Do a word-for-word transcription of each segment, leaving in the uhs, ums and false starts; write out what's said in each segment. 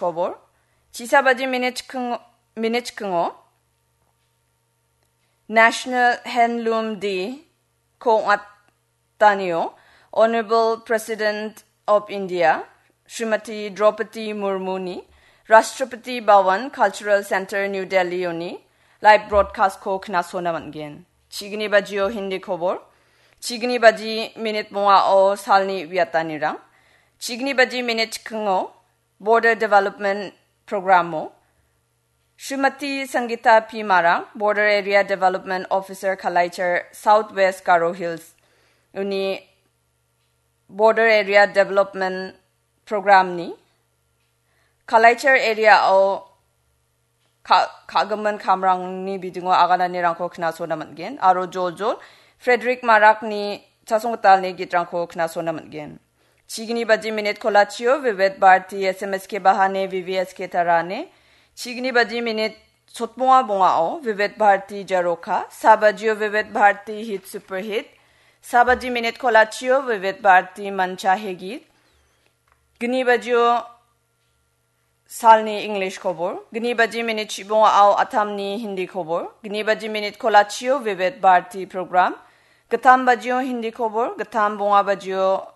Kobor. Chisa baji minit chikking-, minit chikkingo National Handloom Day ko ong·atanio Honorable President of India, Srimati Draupadi Murmu ni Rashtrapati Bhavan Cultural Center, New Delhi oni live broadcast ko knasona man·gen. Chigni bajio Hindi kobor, chigni baji minit bongao salni uiatanirang, chigni baji minit chikkingo Border Development Programo, Srimati Sangita P Marak, Border Area Development Officer, Kalaichar, South West Garo Hills, uni Border Area Development Program ni Kalaichar area o ka-, ka·gimin kamrangni bidingo agananirangko knasona man·gen. Aro joljol Frederick Marakni chasonggitalni gitrangko knasona man·gen. Chigni baji minit kolachio Vivid Bharati S M S ke bahane V V S ke tarane. Chigni baji minit sotbonga bongao Vivid Bharati Jaroka, sabajio Vivid Bharati Hit Super Hit, sabaji minit kolachio Vivid Bharati Mancha Hegit, gni bajio salni English kobor, gni baji minit chibongao Atamni Hindi kobor, gni baji minit kolachio Vivid Bharati program, gittam bajio Hindi kobor, gittam bonga bajio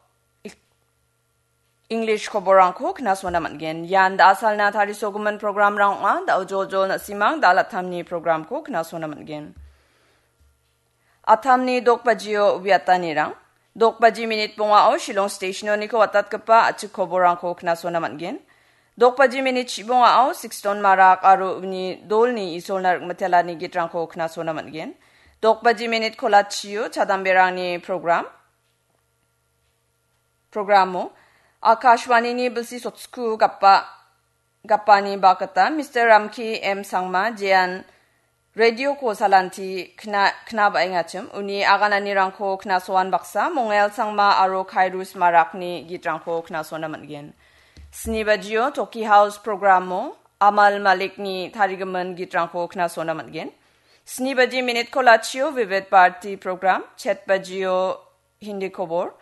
English koborrangko knasona man·gen. Ian da·a salna tarisogimin programrang ong·a. Da·o joljol na·simang da·a lattamni programko knasona man·gen. Atamni dokbajio uiatanirang. Dokbaji minit bongao Shillong Stationoniko watatgipa a·chik koborrangko knasona man·gen. Dokbaji minit chibongao Sixton Marak aro uni dolni Isolna ringmitelani gitrangko knasona man·gen. Dokbaji minit kolachio chadamberangni program. Programo Akashvanini bilsi sotsku gapa-, gapani bakita Mister Ramki M Sangma jean radio ko salanti kna-, knaba·engachim, uni agananirangko knasoan baksa Mongel Sangma aro Khairus Marakni gitrangko knasona man·gen. Sni bajio Toki House programo Amal Malikni tarigimin gitrangko knasona man·gen. Sni baji minit kolachio Vivid Bharati program, chet bajio Hindi kobor,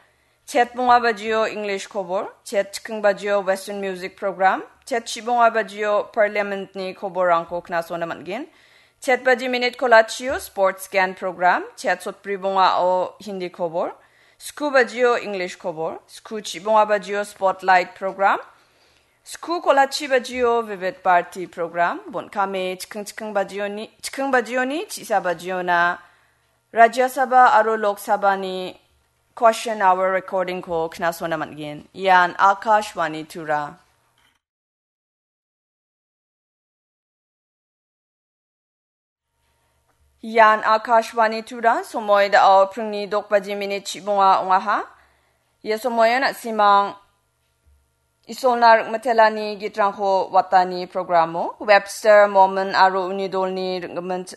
chet bonga bajio English kobor, chet chikking bajio Western Music Program, chet chibonga bajio Parliament-ni koborrangko knasona man·gen. Chet baji minit kolachio Sports Scan Program, chet sotbri bongao Hindi kobor, sku bajio English kobor, sku chibonga bajio Spotlight Program, sku kolachi bajio Vivid Bharati Program, bon·kame chikking chikking bajioni, chikking bajioni, chisa bajiona Rajya Sabha aro Lok Sabha-ni Question Hour recording-ko knasona man·gen. Ian Akashvani Tura. Ian Akashvani Tura, somoi da·o pringni dok baji minit chibonga ong·aha. Ia somoian na·simang Isolna ringmitelani gitrangko watani programo Webster Mormon aro uni dolni ringgimin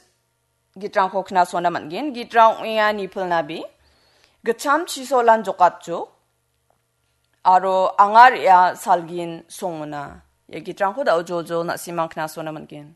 gitrangko knasona man·gen. Gitrang ong·enga nipilnabe, gitcham chisolan jokatjok, aro anga re·a salgin songona. Ia gitrangko da·o joljol na·simang knasona man·gen.